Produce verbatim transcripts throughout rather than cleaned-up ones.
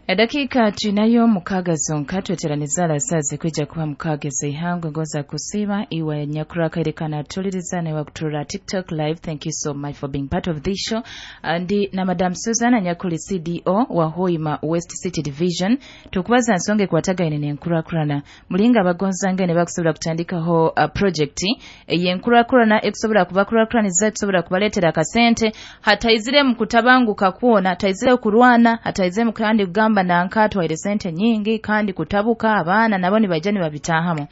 Edakika tunayo mukaaga zonka tweteraniza alasazi kwijja kuba mukaaga ez'eihangwe. Ngoza kusiima iwe nyakurakaire tuliriza newe kuturora TikTok Live. Thank you so much for being part of this show. Ndi na Madam Susan anyakuli C D O wa Hoima West City Division, tukubaza nsonga ekwatagaine n'enkurakurana, mulinga abagonzanga ne bakusobola kutandikaho uh, project ey'enkurakurana ekusobola kubakurakuraniza, ekusobola kubaleetera akasente, hataizire mu kutabanguka kwona, hataizire kurwana, hataizire mu kandi kugamba nanka atwaire sente nyingi kandi kutabuka, abaana nabo nibaija nibabitahamu.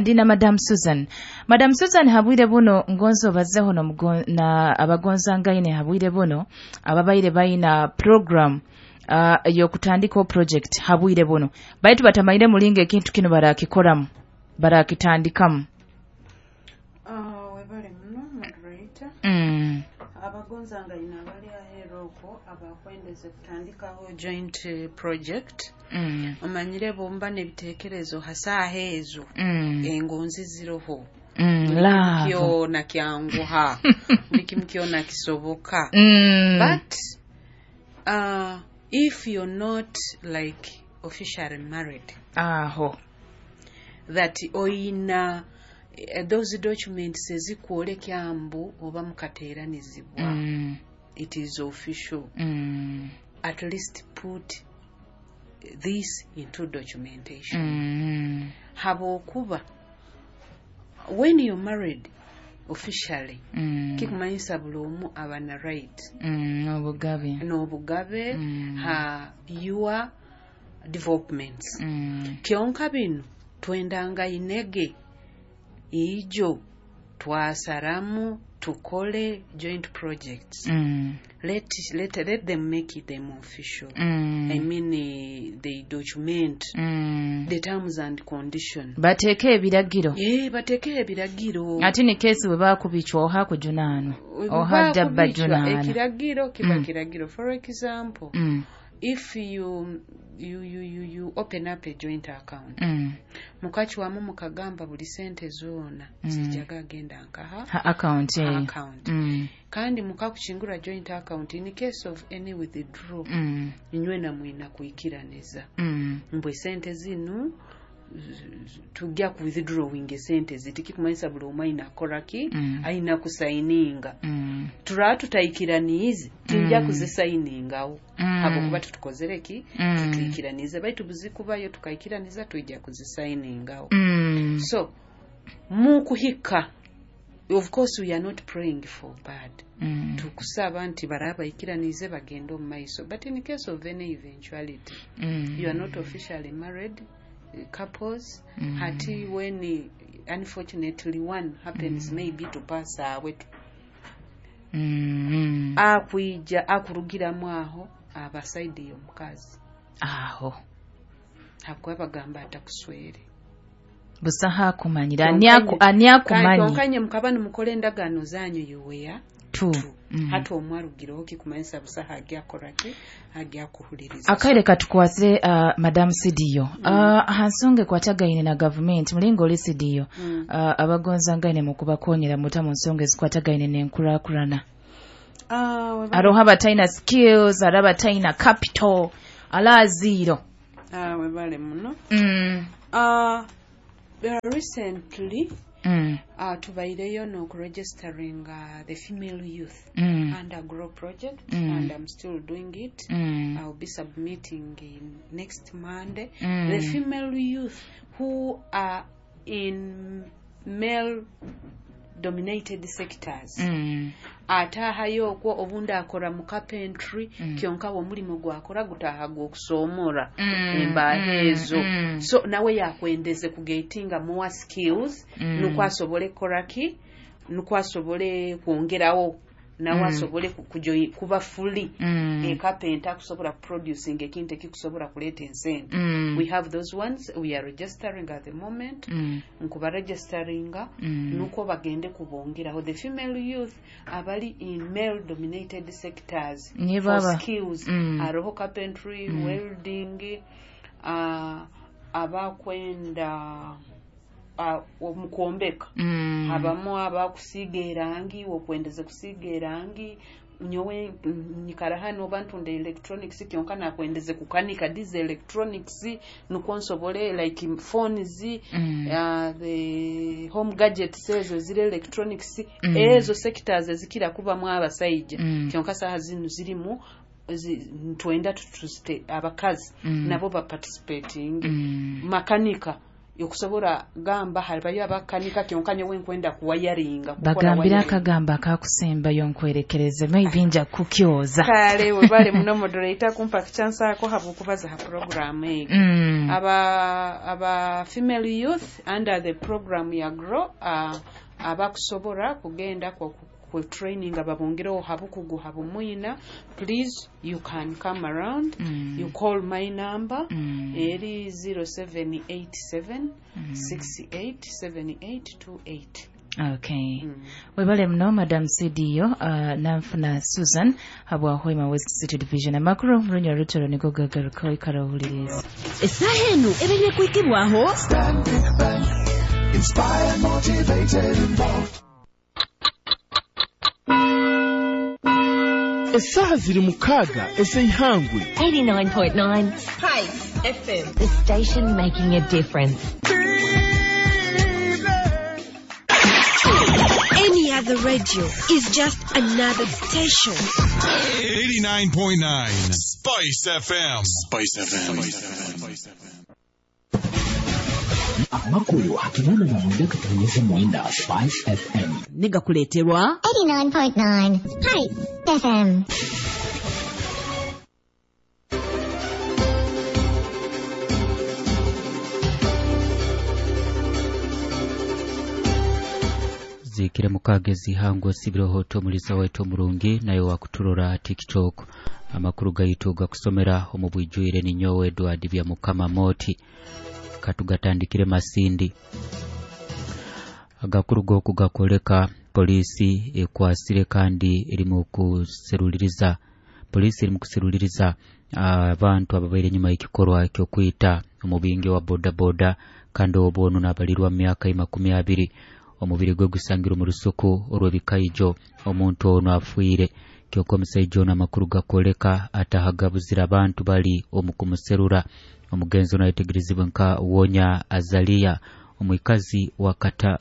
Ndi na Madam Susan. Madam Susan, habwire buno ngonzo obazeho nomugo- na abagonzangaine habwire buno ababaire baina program uh, yokutandikaho project habwire buno, baitu batamanyire mulinga ekintu kino barakikoramu, barakitandikamu. Ah, webale muno, moderator. mm. Abagonzangaine abali aheeru okwo abakwendeze kutandikaho joint eh, project, Mm. omanyire bomba n'ebiteekerezo hasaaha ezo, Mm. engonzi ziroho, Mm. buli kimu Love. kyona kyanguha, buli kimu kyona kisoboka. mm. But uh, if you're not like officially married, Aho. that oyina eh, those documents ezikwoleka mbu oba mukateeranizibwa, mm. it is official, Mm. at least put this into documentation, Mm. habwokuba when you're married officially, Mm. kikumanyisa buli omu aba na right Mm. obugabe n'obugabe Mm. ha your developments. Mm. Kyonka bino twendanga inege ijo twasaramu tukole joint projects. Mm. let, let, let them make it them official. Mm. I mean, uh, they document Mm. the terms and condition. Bateeke ebiragiro. Eh, bateeke ebiragiro. Ate ne keesi bwe bakubicwa oha kujunaanwa oha jja Bakubicwa, bajunaana. Ekiragiro kiba Mm. kiragiro. For example, Mm. if you, you, you, you, you open up a joint account, Mm. mukacwamu mukagamba buli sente zoona Mm. zijjaga agenda nkaha Ha account eyo. Account. Mm. Kandi mukakukingura joint account, in case of any withdraw, Mm. inywena mwina kwikiraniza Mm. mbwe sente zinu tujja ku withdrawing esente zitikikumanyisa buli omu ayina akoraki, Mm. ayina kusayininga. Mm. Turaba tutayikiraniize, tinja Mm. kuzisayiningawo, Mm. habwokuba tutukozere ki, Mm. tutuyikiranize, baitu buzikubayo tukayikiraniza, twijja kuzisayiningawo. Mm. So mukuhika, of course we are not praying for bad, Mm. tukusaba nti baraba bayikiranize bagende omu maiso, but in case of any eventuality, Mm. you are not officially married eh, couples, Mm. hati when eh, unfortunately one happens maybe to pass away, Mm. akwija akurugiramu aho aba side y'omukazi. Aho. Habwokuba bagamba atakuswere. Busaha akumanyira ani aku- ani akumanyi. Kyonkanye mukaba nimukora endagaano zanyu, you were Tu two. Mm. Hati omwarugireho, kikumanyisa busaha agyakoraki, agyakuhuliriza. Akaire katukwasire uh, Madam C D O, mm. uh, aha nsonga ekwatagaine na gavumenti, mulinga oli C D O, Mm. uh, abagonzangaine mu kubakonyera muta mu nsonga ezikwatagaine n'enkurakurana? Ah, weba- Aroho abatalina skills, ari abatalina capital, alaziiro. Ah, webale muno. mm. Ah, recently mm. uh, tubaireyo n'okuregistering uh, the female youth Mm. under Grow project, Mm. and I'm still doing it. Mm. I'll be submitting in next Monday. Mm. The female youth who are in male dominated sectors, Mm. ataahayo okwo obundi akora mu carpentry, Mm. kyonka omulimu gwakora gutaaha gw'okusoomora Mm, embaaho mm, ezo, mm. so nawe yakwendeze kugetinga more skills, Mm. nukwo asobole kukoraki, nukwo asobole kwongerawo nawe, Mm. asobole ku- kujoyi- kuba fully Mm. ekapenta akusobola kuproducing ekintu ekikusobola kuleeta ensente. Mm. We have those ones we are registering at the moment. Mm. Nkubaregisteringa Mm. nukwo bagende kubongeraho the female youth abali in male dominated sectors Ni for baba. skills. Mm. Hariho carpentry, Mm. welding, uh, abakwenda uh, omu kwombeka, Mm. habamu abakusiiga erangi, okwendeze kusiiga erangi. Nyowe nyikara hano oba ntunda electronics, kyonka nakwendeze kukanika these electronics nukwo nsobole like phones, Mm. uh, the home gadgets ezo ziri electronics, Mm. ezo sectors ezikira kubamu abasaija. Mm. Kyonka saha zinu zirimu zi, ntwenda tutuzite abakazi Mm. nabo baparticipating. Mm. Makanika yokusobora gamba halibayo abakanika, kyonka nyowe nkwenda kuwayaringa, kukola Bagambira wiring. Akagamba akakusembayo nkwerekereze, maybe nja kukyoza. Kale, webale muno moderator kumpa chance ako habwokubaza ha program egi. Mm. aba aba female youth under the program ya GROW, uh, abakusobora kugenda ku, ku training ababongereho habukugu habumwina, please you can come around. Mm. You call my number, Mm. eri zero seven eight seven six eight seven eight two eight. Okay. Mm. Webale muno, Madam C D O uh, Nanfuna Susan habwa Hoima West City Division. Amakuru murunya rutoro niko gagaruka, ikara ohuliriza. Essaaha eno ebeire kwikibwaho Stanbic Bank. Inspired, motivated, involved. Essaaha ziri mukaaga ez'eihangwe. eighty-nine point nine Spice F M. The station making a difference. Any other radio is just another station. eighty-nine point nine Spice F M. Spice F M. Amakulu akinana na mwenda katonyeze mwenda Spice F M. Negakuleeterwa eighty-nine point nine Spice F M. Zikire mukaaga ezihangwa sibiroho omuliza waitu omurungi naye wakuturora TikTok. Amakuru gaitu gakusomera omu bwijwire ninyowe Edward Bya Mukama Moti. Katugatandikire Masindi. Agakuru goku gakoleka polisi ekwasire kandi erimu kuseruliriza, polisi erimu kuseruliriza abantu ababaire enyuma y'ekikorwa ekyokwita omubingi wa bodaboda, kandi obwo ono nabalirwa mu myaka makumi abiri. Omubiri gwe gusangirwe mu rusuku olw'ebikaijo. Omuntu ono afiire, kyokka omusaija ono amakuru gakoleka atahagabuzira abantu bali omu kumuserura. Omugenzi ono ayetegerezibwe nka Wonya Azalia, omwikazi wa kata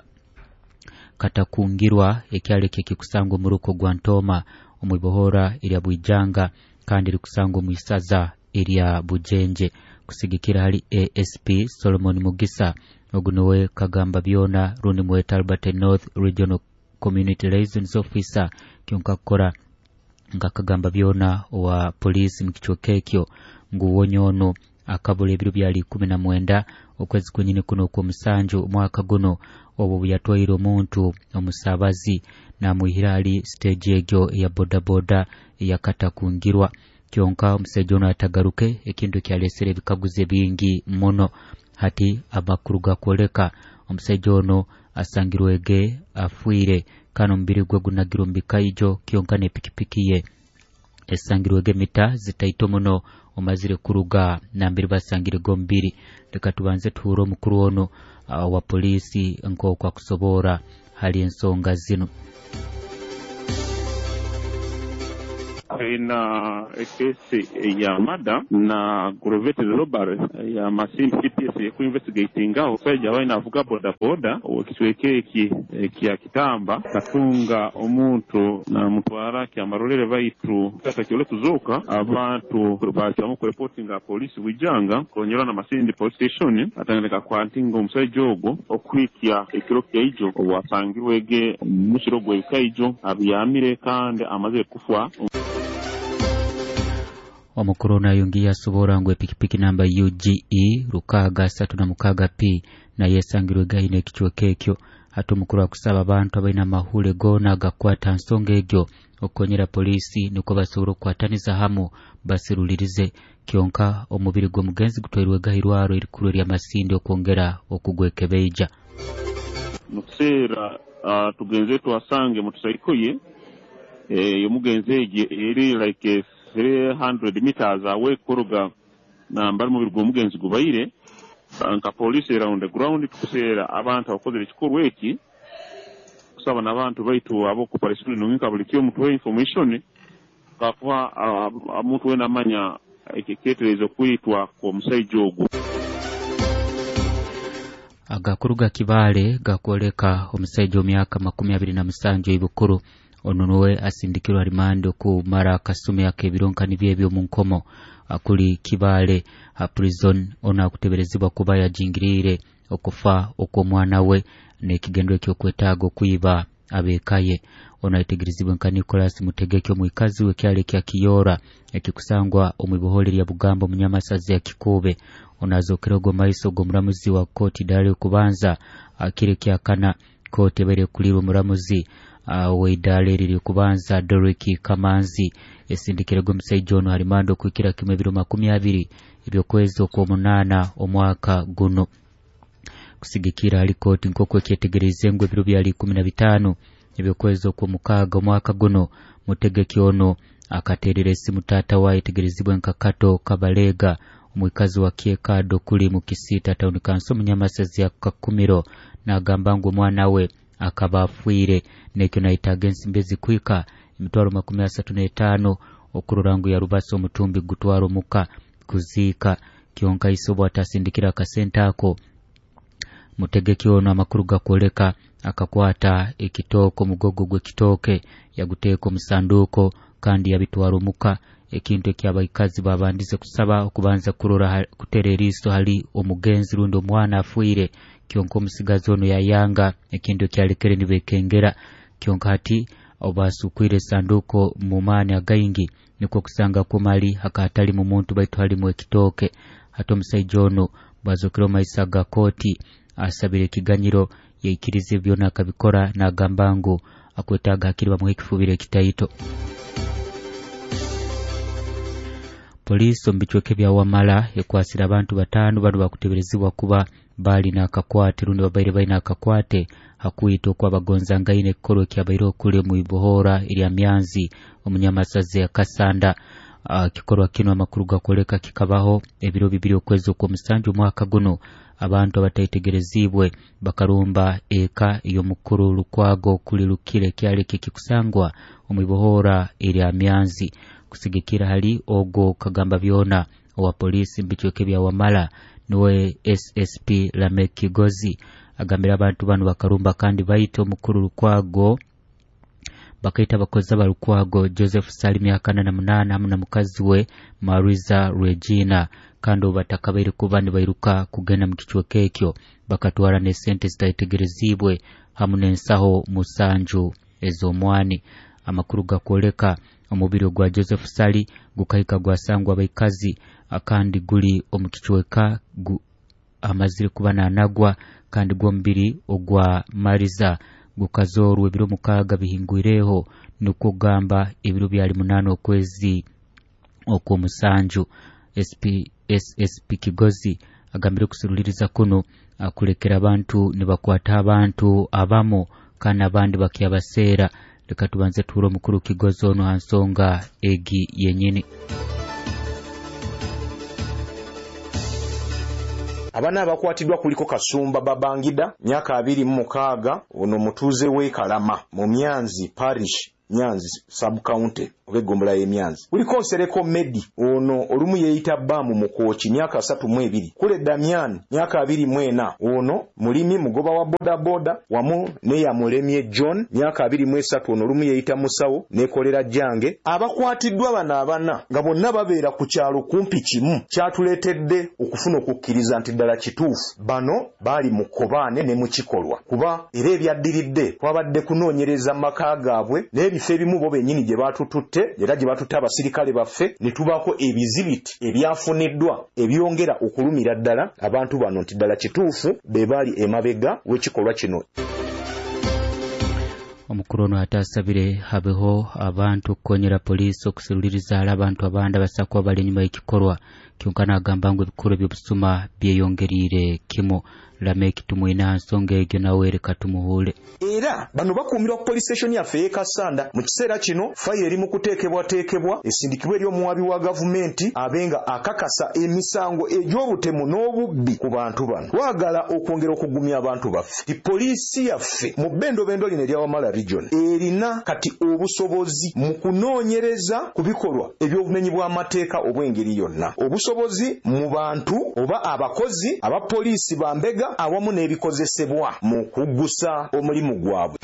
Katakungirwa, ekyalo ekyo ekikusangwa omu ruko gwa Ntooma omwibohora erya Bwijanga, kandi rikusangwa omu isaza erya Bujenje. Kusigikira hali A S P Solomon Mugisa, ogu niwe kagamba byona rundi mweta Albert North Regional Community Liaisons Officer, kyonka kukora nga kagamba byona owa polisi mu kicweka ekyo, ngu Wonya ono akabula ebiro byali ikumi na mwenda okwezi kwenyini kuno okw'omusanju omwaka guno, obwo bwe yatwaire omuntu omusabazi namwihira ali stage egyo eya bodaboda eyakatakungirwa, kyonka omusaija ono atagaruke, ekintu ekyalesere ebikaguzo bingi muno. Hati amakuru gakwoleka omusaija ono asangirwege afiire, kandi omubiri gwe gunagirwe omu bikaijo, kyonka n'epikipiki ye esangirwege mita zitaito muno omazire kuruga nambere basangirege omubiri. Leka tubanze tuhure omukuru ono uh, wa polisi nk'oku akusobora hali ensonga zino. Ina ekesi ya murder na aggravated robbery ya Masindi C P S ekuinvestigatinga omusajja abaine avuga bodaboda ekicweka eki ekya Kitamba, katunga omuntu namutwara Kyamarolere, baitu atakyole kuzuuka. Abantu bakyamu kureportinga polisi Bwijanga konyera na Masindi police station, atandika kwantinga omusajja ogwo okuhikya ekiro kyaijo obwasangirwege mukiro gw'ebikaijo abyamire kandi amazire kufa. Omukuru ono ayongiye asobora ngu epikipiki namba U G E rukaaga asatu na mukaaga P naye esangirwe gaine ekicweka ekyo. Hati omukuru akusaba abantu abaine amahule goona agakwata nsonga egyo okukonyera polisi nukwo basobora okukwataniza hamu basirulirize. Kyonka omubiri gw'omugenzi gutwairwe gairwaro erikuru erya Masindi okwongera okugwekebeija. Mu kiseera uh, tugenze twasange motocycle ye eh, omugenzi egi eri like three hundred meters away kuruga nambari omubiri gw'omugenzi gubaire. Nka polisi era on the ground tukuseera abantu abakozere ekikorwa eki, kusaba n'abantu baitu ab'okuparation nunga buli kyo mutuhe information. Kakuba omuntu wena amanya ekiketerezo kwitwa kw'omusaija ogwo. Agakuru ga Kibaale gakwoleka omusaija omyaka makumi abiri na musanju ibukuru ono nuwe asindikirwa rimando kumara akasumi ak'ebironka nibyo ebyo mu nkomo akuli Kibaale ha prison. Ono akuteberezibwa kuba yajingirire okufa okw'omwana we n'ekigendo eky'okwetaaga okwiba abekaye. Ono aitegerezibwe nka Nicholas Mutegeke omwikazi w'ekyalo ekya Kiyora ekikusangwa omu ibohole lya Bugambo munyamasazi ya Kikube. Ono azokere ogwo maiso g'omuramuzi wa kooti dali okubanza akire kyakana. Kooti ebaire ekulirwa omuramuzi w'eidaala eriri kubanza Doriki Kamanzi esindikire gw'omusaija ono harimando okuhikira kimwe ebiro makumi abiri ebyokwezi okw'omunaana omwaka guno. Kusigikira hali kooti nk'oku ekyetegereze ngu ebiro byali ikumi na bitaano ebyokwezi okw'omukaaga omwaka guno, Mutegeke ono akateerera esimu taata we ayetegerezibwe nka Kato Kabalega omwikazi wa Kyekado kuli mu Kisiita Town Council munyamasazi ya Kakumiro, n'agamba ngu omwana we akaba afiire nekyo nayetaaga ensimbi ezikuhika emitwaro makumi asatu n'etaano okurora ngu yarubasa omutumbi gutwara omuka kuziika. Kyonka ise obu atasindikira akasente ako, Mutegeke ono amakuru gakwoleka akakwata ekitooke omugogo gw'ekitooke yaguteeka omusanduuko kandi yabitwara omuka, ekintu ekyabaikazi babandize kusaba okubanza kurora kutera eriiso hali omugenzi rundi omwana afiire. Kyonka omusigazi ono yayanga ekintu ekyalekere nibekengera. Kyonka hati obasukwire esanduuko mu maani againgi nikwo kusanga kumali hakatali mu muntu baitu halimu ekitooke. Hati omusaija ono bwazokere omu maiso ga kooti asabire ekiganyiro yaikirize byona akabikora n'agamba ngu akwetaaga hakiri bamuhe ekifubiro ekitaito. Poliisi omu bicweka bya Wamala ekwasire abantu bataano bano bakuteberezibwa kuba bali n'akakwate rundi babaire balina akakwate hakwita okwabagonzangaine ekikorwa ekyabaire okuli mu ibohora erya Myanzi omunyamasazi ya Kasanda. Kikorwa kino amakuru gakwoleka kikabaho ebiro bibiri okwezi okw'omusanju omwaka guno. Abantu abataitegerezibwe bakarumba eka ey'omukuru Lukwago kuli Lukire ekyalo ekikusangwa omu ibohora erya Myanzi. Kusigikira hali ogo kagamba byona owa polisi mbicweke bya Wamala niwe S S P Lamek Kigozi agambira abantu bano bakarumba kandi baita omukuru Lukwago, bakaita abakozi ba Lukwago Joseph Sali myaka na munana hamwe na mukazi we Mariza Regina, kandi obu batakabaire kuba nibairuka kugenda mu kicweka ekyo bakatwara n'esente zitaitegerezibwe hamwe n'ensaho musanju ez'omwani. Amakuru gakwoleka omubiri gwa Joseph Sali gukahika gwasangwa abaikazi kandi guli omu kicweka amazire kuba nanagwa, kandi gw'omubiri ogwa Mariza gukazorwa ebiro mukaaga bihingwireho, nukwo gamba ebiro byali munana okwezi okw'omusanju. S P S S P Kigozi agambire kusuruliriza kuno akulekera abantu nibakwata abantu abamu kandi abandi bakyabaseera. Leka tubanze tuhure omukuru Kigozi ono ha nsonga egi yenyini. Abana abakwatiddwa kuliko Kasumba Babangida myaka abiri mu mukaaga, ono mutuuze w'e Kalama mu Myanzi Parish, Nyanzi sub county oba eggombolola y'e Myanzi. Kuliko Nsereko Medi, ono olumu yeeyita Baamu Mukooki myaka asatu mu ebiri. Kule Damian myaka abiri mu ena, ono mulimi mugoba wa bodaboda, wamu ne Yamulemye John myaka abiri mu esatu, ono olumu yeeyita Musawo nekolera Jange. Abakwatiddwa bano abana nga bonna babeera ku kyalo kumpi kimu, kyatuleetedde okufuna okukkiriza nti ddala kituufu bano baali mu kkobaane ne mu kikolwa, kuba era ebyaddiridde twabadde kunoonyereza mu maka gaabwe n'ebifo ebimu bo bennyini gye baatututte era gye batutte abasirikale baffe ne tubaako ebizibiti ebyafuniddwa ebyongera okulumira ddala abantu bano nti ddala kituufu be baali emabega w'ekikolwa kino. Omukuru ono atasabire habeho abantu okukonyera poliisi okusuruliriza ala abantu abandi abasakuba bali enyuma y'ekikorwa. Kyonka n'agamba ngu ebikorwa eby'obusuma byeyongeriire kimu. Lameki tumwina nsonga egyo nawe reka tumuhule. Era bano bakuumirwa ku police station yaffe ey'e Kassanda. Mu kiseera kino fayiro eri mu kuteekebwateekebwa esindikibwa eri omuwaabi wa gavumenti abe nga akakasa emisango egy'obutemu n'obubbi ku bantu bano. Twagala okwongera okugumya abantu baffe ti poliisi yaffe mu bbendobendo lino erya Wamala region erina kati obusobozi mu kunoonyereza ku bikolwa eby'obumenyi bw'amateeka obw'engeri yonna, obusobozi mu bantu oba abakozi aba poliisi bambega awamu n'ebikozesebwa mu kuggusa omulimu gwabwe.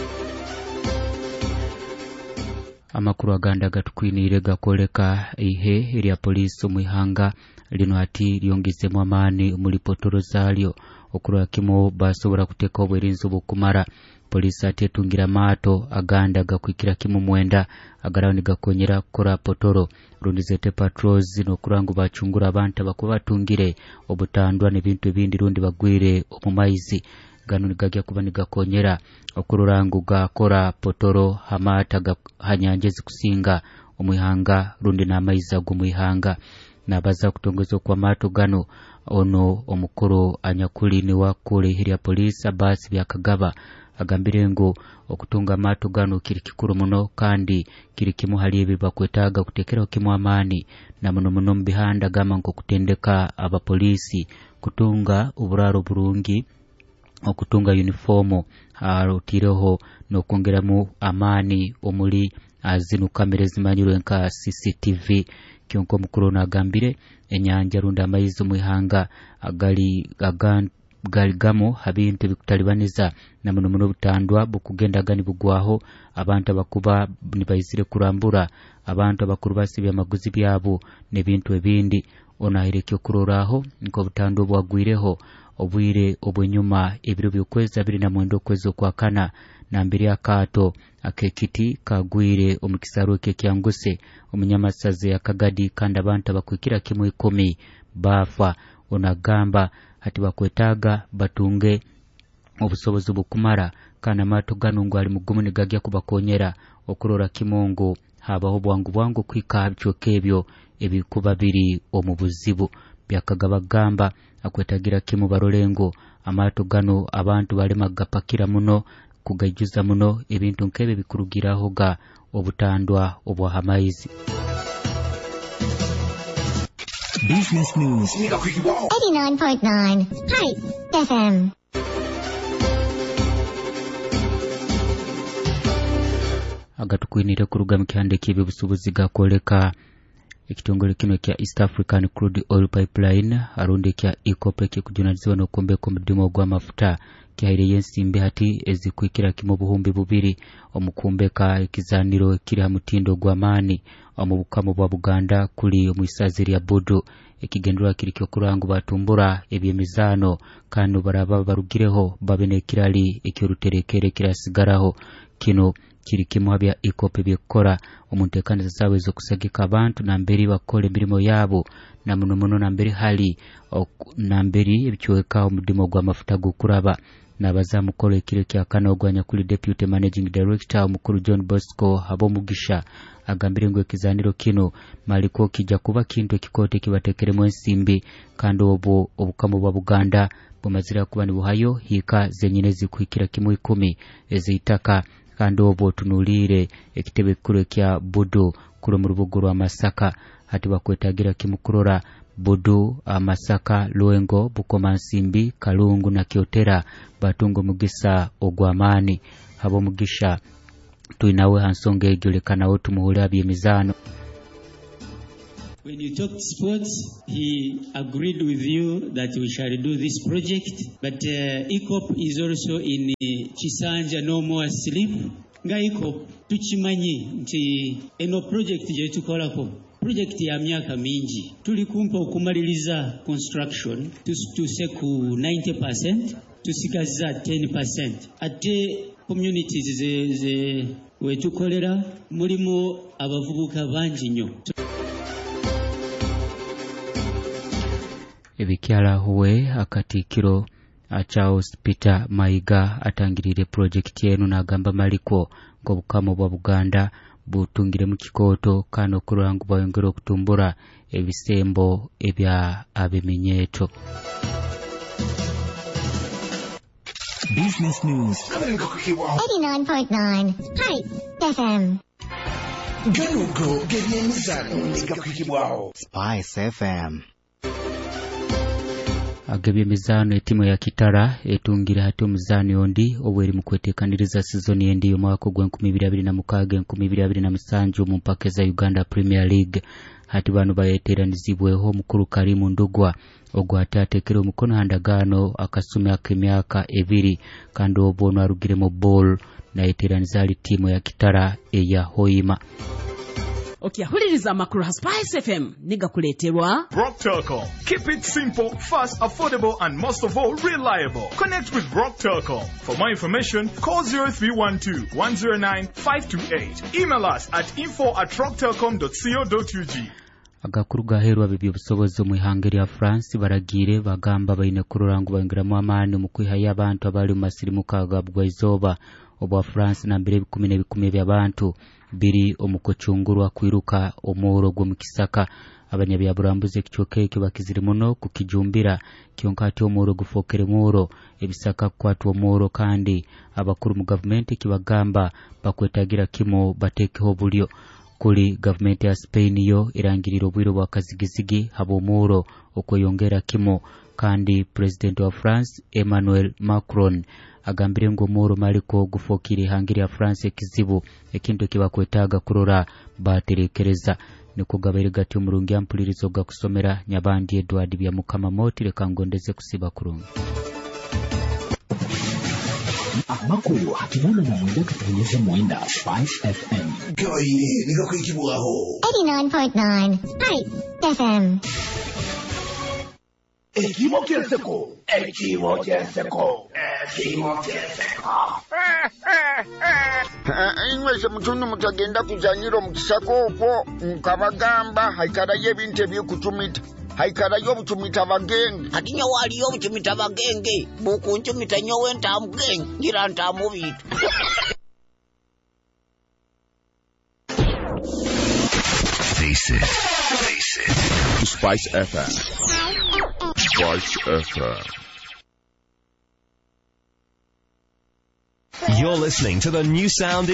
Amakuru aganda gatukwiniire gakoleka ihe erya poliisi omwihanga lino ati lyongezemu amaani omuli potoro zaalyo okurora kimu basobola kuteeka obwerinzi obukumara. Poliisi ati etungira amaato aganda gakwikira kimu mwenda agaraho nigakonyera kukora potoro rundi zete patrols n'okurora ngu bacungura abantu abakuba batungire obutandwa n'ebintu ebindi rundi bagwire omu maizi. Gano nigajya kuba nigakonyera okurora ngu gakora potoro hamata hanyanja ezikusinga omwihanga rundi n'amaizi ag'omwihanga. Nabaza kutongeza kwa mato gano ono omukuru anyakuli ni wakule ihiri ya polisi Abasi Byakagaba agambire ngu okutunga amato gano kiri kikuru muno kandi kiri kimu hali ebi bakwetaaga kutekeraho kimu amaani na muno muno mu bihanda gamba nko kutendeka abapolisi kutunga oburaro burungi, okutunga uniformu arotireho n'okwongeramu amaani omuli zino kamera ezimanyirwe nka C C T V. Kyonka omukuru ono agambire enyanja rundi amaizi omwihanga agali agan galigamo habintu ebikutalibaniza na muno muno obutandwa bukugendaga nibugwaho abantu abakuba nibaizire kurambura abantu abakuru basibya amaguzi byabo n'ebintu ebindi. Ono ahaire ekyokurorraho nk'obutandwa obwagwireho obwire obwenyuma ebiro by'okwezi abiri na mwenda okwezi okwakana nambiri akaato ak'ekiti kagwire omu kisaaru ekyekyanguse omunyamasazi akagadi kandi abantu abakwikira kimu ikumi baafa. Ono agamba hati bakwetaaga batunge obusobozi bukumara kandi amaato gano ngu ali mugumu nigagya kubakonyera okurora kimu ngu habaho bwangu bwangu kwika aha bicweka ebyo ebikuba biri omu buzibu. Byakagaba gamba akwetagira kimu barole ngu amaato gano abantu balema gapakira muno kugaijuza muno ebintu nk'ebyo bikurugiraho ga obutandwa obw'ahamaizi. Business News eighty-nine point nine Spice F M. Agatukwinire kuruga mu kihande ky'ebyobusuubuzi gakoleka ekitongole kino kya East African Crude Oil Pipeline arundi kya EACOP ekikujunanizibwa n'okwombeka omudumu gw'amafuta kihaireyo ensimbi hati ezikwikira kimu obuhumbi bubiri omukumbeka ekizaniro kiri ha mutindo gw'amaani omu bukama bwa Buganda kuli omwisazi lya Budu. Ekigendererwa kiri ky'okurora ngu batumbura eby'emizaano kandi baraba barugireho babe n'ekirali eky'oruterekere kirasigaraho. Kino kiri kimu ha bya EACOP ebyekukora omu nteekaniza zaabwe ez'okusagika abantu namberi bakora emirimo yaabo na muno muno namberi hali namberi ebicweka omudumu gw'amafuta g'okuraba. Nabaza mukolo ekiro kya kana ogwanyakuli Deputy Managing Director omukuru John Bosco Habomugisha agambire ngu ekizaniro kino maliko kijja kuba kintu ekikote kibatekeremu ensimbi kandi obwo obukama bwa Buganda bumazira kuba nibuhayo hika zenyine zikuhikira kimu ikumi ez'eitaka kandi obwo tunuliire ekitebe kikuru ekya Budu kuri mu rubuga rwa Masaka. Hati bakwetagira kimu kurora Budu, Masaka, Lwengo, Bukomansimbi, Kalungu na Kyotera batunga omugisa ogw'amaani. Habomugisha twinawe ha nsonga egyo leka nawe tumuhule aby'emizaano. When you talked sports, he agreed with you that we shall do this project. But uh, EACOP is also in uh, Kisanja No More Sleep. Nga EACOP tukimanyi nti eno project gye tukolako project ya myaka mingi. Tuli kumpa okumaliriza construction tuse ku ninety percent, tusigazza ten percent. Ate communities ze, ze wetukolera mulimu abavubuka bangi nnyo. Ebikyala huwe akatikiro Charles Peter Mayiga atangirire project eno n'agamba maliko ng'obukama bwa Buganda butungire mu kikooto kandi okurora ngu bayongere okutumbura ebisembo ebya abeminyeeto. Business news. eighty-nine point nine Spice F M. Ganugo g'ebyemizano negakwikibwaho Spice F M. Ag'ebyemizaano etimu ya Kitara etungira hati omuzaani ondi obweri mu kweteekaniriza sizoni endi y'omwaka ogw'enkumi ibiri abiri na mukaaga enkumi ibiri abiri na musanju omu mpaka za Uganda Premier League. Hati bano bayeteeranizibweho omukuru Karimu Ndugwa ogwo ate ateekere omukono ha ndagaano akasumi ak'emyaka ebiri kandi obwo ono arugire mu ball nayeteeraniza ali ttiimu ya Kitara eya Hoima. Okyahuliriza amakuru ha Spice F M nigakuleeterwa Rock Telcom. Keep it simple, fast, affordable and most of all reliable. Connect with Rock Telcom. For more information, call zero three one two, one zero nine, five two eight. Email us at info at rocktelcom dot co dot U G. Agakuru gaheerwa b'ebyobusobozi omu ihanga erya France baragiire bagamba baine kurora ngu baingiramu amaani omu kwihayo abantu abali omu masirimuka ga bugwaizooba obwa France nambere ebikumi n'ebikumi eby'abantu biri omu kucungurwa kwiruka omworo gw'omu kisaka. Abanyabyaburambuzi ekicweka ekyo bakizire muno kukijumbira kyonka ati omworo gufookere mworo ebisaka kukwatwa omworo kandi abakuru mu gavumenti kibagamba bakwetagira kimo bateekeho obulyo. Kuli gavumenti ya Spain yo irangirira obwire bwa kazigizigi habw'omworo okweyongera kimo kandi president wa France Emmanuel Macron agambire ngu omworo maliko gufookire ihanga lya France ekizibu ekintu ekibakwetaaga kurora baterekereza. Niko gabaire gati omurungi ampulirizo gakusomera Nyabandi Edward Byamukama Moti leka ngondeze kusiba kurungi. Amakuru hakinana na mwenda katonyeze mwenda Spice F M. Gabaire nigakwikibwaho eighty-nine point nine Spice F M. Ekimo ky'enseko, ekimo ky'enseko, ekimo ky'enseko. Inywese mutundu mutagenda kuzanyira omu kisaka okwo nkabagamba haikarayo ebintu eby'okucumita. Haikarayo obucumita bagenge. Hati nyowe aliyo obucumita bagenge bukuncumita nyowe ntamugenge ngira ntamubitu. Face it. Face it. Spice F M. Spice F M. You're listening to the new sound